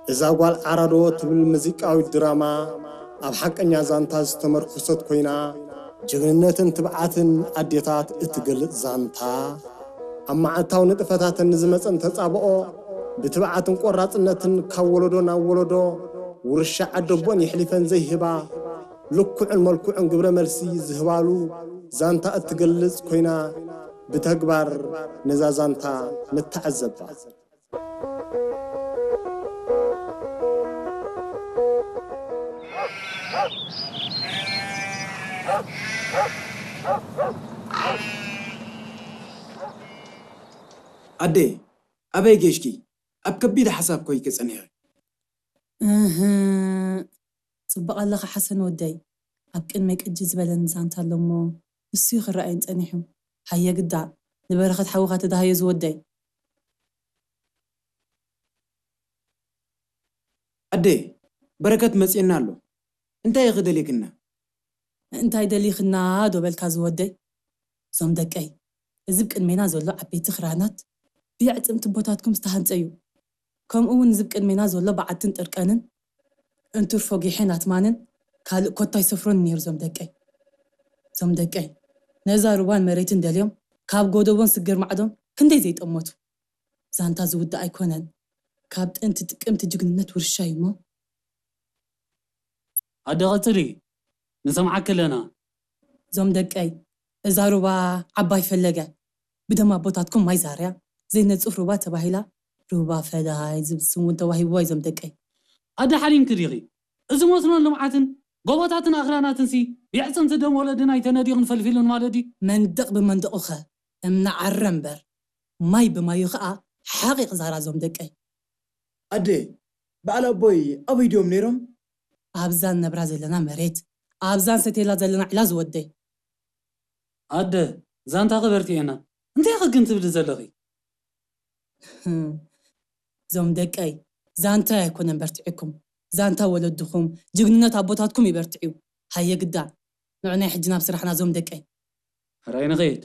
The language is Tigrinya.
እዛ ጓል ዓራዶ ትብል ሙዚቃዊት ድራማ ኣብ ሓቀኛ ዛንታ ዝተመርኮሰት ኮይና፣ ጅግንነትን ትብዓትን ኣዴታት እትገልጽ ዛንታ፣ ኣብ መዓልታዊ ንጥፈታተን ንዝመጸን ተጻብኦ ብትብዓትን ቆራጽነትን ካብ ወለዶ ናብ ወለዶ ውርሻ ዓደቦን የሕሊፈን ዘይህባ፣ ልኩዕን መልኩዕን ግብረ መልሲ ዝህባሉ ዛንታ እትገልጽ ኮይና፣ ብተግባር ነዛ ዛንታ ንተዓዘባ። ኣደ፣ ኣበይ ገሽኪ? ኣብ ከቢድ ሓሳብ ኮይከ ጸኒሐ። እህ፣ ጽቡቕ ኣለኻ ሓሰን ወደይ። ኣብ ቅድመይ ቅጂ ዝበለኒ ዛንታ ኣሎ እሞ፣ ንሱ እዩ ክረኣየን ጸኒሑ። ሃየ ግዳ፣ ንበረኸት ሓውኻ ተዳሃዮ ዝወደይ። ኣደ፣ በረከት መጽኤና ኣሎ። እንታይ ኢኺ ደሊክና? እንታይ ደሊኽና ዶ በልካ ዝወደይ? እዞም ደቀይ፣ እዚ ብቅድሜና ዘሎ ዓበይቲ ክራናት ብየዕጽምቲ ቦታትኩም ዝተሃንጸ እዩ። ከምኡ እውን እዚ ብቅድሜና ዘሎ በዓትን ጥርቀንን፣ እንትርፎ ጊሕን ኣትማንን ካልእ ኮታ ኣይሰፍሮን ነይሩ። እዞም ደቀይ፣ እዞም ደቀይ፣ ነዛ ሩባን መሬትን ደልዮም ካብ ጎደቦን ስግር ማዕዶም ክንደይ ዘይጠመቱ። ዛንታ ዝውዳእ ኣይኮነን። ካብ ጥንቲ ጥቅምቲ ጅግንነት ውርሻ እዩ እሞ። ኣደ ቀጽሊ፣ ንሰምዓኪ ኣለና። እዞም ደቀይ፣ እዛ ሩባ ዓባይ ፈለገ፣ ብደም ኣቦታትኩም ማይ ዛርያ ዘይነጽፍ ሩባ ተባሂላ፣ ሩባ ፈላይ ዝብል ስም እውን ተዋሂብዋ። እዞም ደቀይ። ኣደ ሓሊምኪ ዲኺ? እዚ መስኖን ልምዓትን ጎቦታትን ኣኽራናትንሲ የዕጽምቲ ደም ወለድና ኣይተነዲቑን ፈልፊሉን ማለት ድዩ? መንደቕ ብመንደቑኸ እምኒ ዓረ እምበር፣ ማይ ብማዩ ኸኣ ሓቒቕ ዛራ። እዞም ደቀይ። ኣደ፣ በዓል ኣቦይ ኣበይ ድዮም ነይሮም? ኣብዛ ንነብራ ዘለና መሬት፣ ኣብዛ ንሰትየላ ዘለና ዒላ ዝወደይ። ኣደ፣ ዛንታ ክበርትየና፣ እንታይ ኢኺ ግን ትብሊ ዘለኺ? ህም፣ እዞም ደቀይ፣ ዛንታይ ኣይኮነን በርቲዕኩም፣ ዛንታ ወለድኹም፣ ጅግንነት ኣቦታትኩም ይበርትዕዩ። ሃየ ግዳ፣ ንዑ ናይ ሕጂ ናብ ስራሕና እዞም ደቀይ። ሕራይ ንኸይድ።